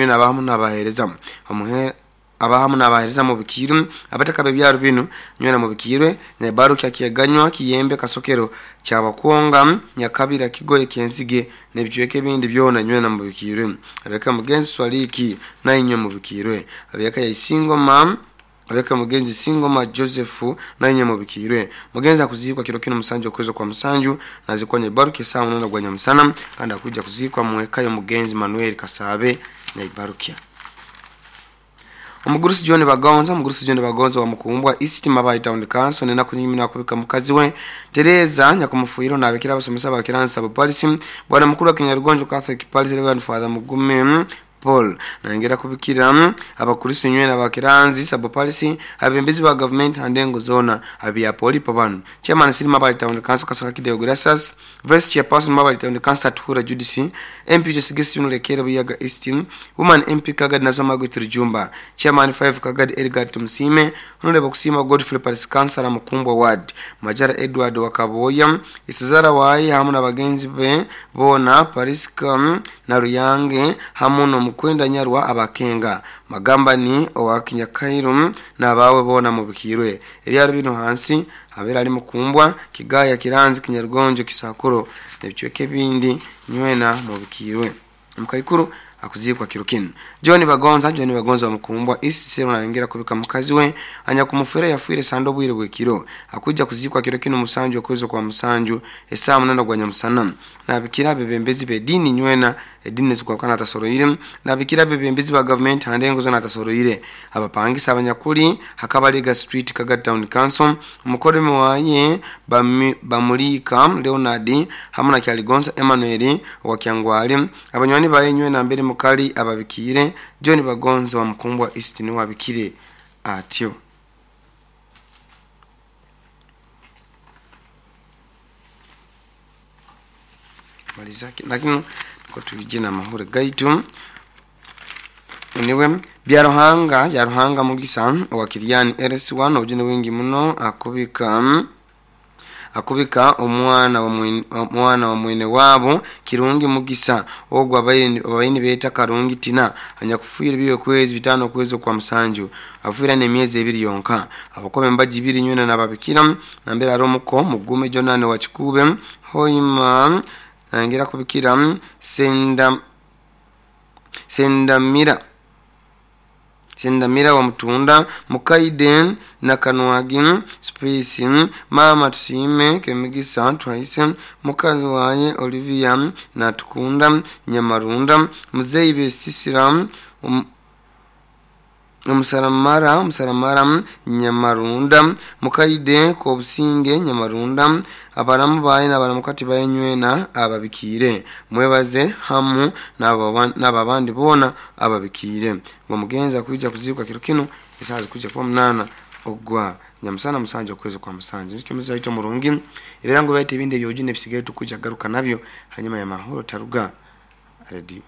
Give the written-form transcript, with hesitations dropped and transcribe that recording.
Nywena abahamu n'abaheereza omuhe abahamu n'abaheereza mubikirwe abataka b'ebyaro binu nywena mubikirwe Nyabaruki Kyeganywa Kiyembe Kasokero Kyabakwonga Nyakabira Kigoye Kyenzige n'ebicweka ebindi byona nywena mubikirwe. Abeka mugenzi Swaliki nainywe mubikirwe. Abeka ya Isingoma, abeka mugenzi Singoma Joseph nainywe mubikirwe. Mugenzi akuzikwa kiro kino musanju okwezi kwa musanju, nazikwa Nyabaruki saa 8 gwa nyamusana, kandi akuja kuzikwa mweka y'omugenzi Manuel Kasabe Nyabaruki. Omugurusi John Bagonza, omugurusi John Bagonza wa Mukumbwa East Mabayi Town Council nenaku nyingi nakubika mukazi we Tereza nyakumufuiro nabikira abasomesa ba Kiransa Polisi bwana mukuru wa Kinyarugonjo Catholic Parish Reverend Father Mugume Paul nangera kubikira abakristo nywena ba Kiranzi sabo polisi abembezi ba government handengo zona abya poli pabanu chairman Siri Mabayi Town Council Kasaka Kideo Gracias, vice chairperson Mabayi Town Council Tuhura Judisi, MP Josigesi Nulekere Buyaga East, woman MP Kagadi Nasoma Gwitirjumba, chairman 5 Kagadi Edgar Tumsime, honorable Kusima Godfrey Paris Councilor Mukumbwa Ward, Majara Edward Wakaboya Isizara wayi hamu na bagenzi be bona Pariska na Ruyange hamu no Mukwenda Nyarwa abakenga magamba ni owa Kinyakairu n'abawe bona mubikirwe. Ebyaro bino hansi habera ari Mukumbwa, Kigaya, Kiranzi, Kinyarugonjo, Kisakuro n'ebicweka ebindi nywena mubikirwe. Mukaikuru akuzikwa kirukini John Bagonza, John Bagonza wa Mukumbwa East Sero naingira kubika mukazi we anya kumufera yafwire sando bwire bwekiro akuja kuzikwa kiro kino musanju okwezo kwa musanju esaa 8 gwa nyamusana. Nabikira bebembezi be dini nywena edini zikwakana tasoroire, nabikira bebembezi ba government handengo zona tasoroire abapangisa abanyakuli Hakabaliga Street Kaga Town Council mukoreme waye bamulika Leonard hamwe na Kyaligonza Emmanuel wa Kyangwali abanywani baye nywena mbere mukali ababikire. John Bagonza wa Mukumbwa East ni wabikire atyo. Malizaki lakini ko tujina mahure gaitu niwe Byaruhanga Byaruhanga Mugisa wa Kiriani RS1 ojine wingi muno akubika omwana wa mwene wabo Kirungi Mugisa ogwo abayini beta Karungi Tina anyakufuira biyo kwezi 5 kwezi kwa musanju afuira ne miezi 2 yonka abakobe mbaji 2 nywena nababikira nambera romuko Mugume Jonane wa Chikube Hoima nangira kubikira Sendamira wa Mutunda Mukaiden na Kanwagi Space Mama Tusime Kemigisa Twaise mukazi waye Olivia na Tukunda Nyamarunda Muzeyi Besisira Musaramara Nyamarunda Mukaide Kobusinge Nyamarunda abaramu baye n'abaramukati baye nywena ababikire mwebaze hamu n'ababandi bona ababikire ngo mugenza kuja kuzikwa kiro kino isazi kuja kwa 8 ogwa nyamusana musanje okwezi kwa musanje nikyo muzaito ito murungi ebirango bayite ibindi byojine bisigaye tukuja garuka nabyo hanyuma ya mahoro taruga radio.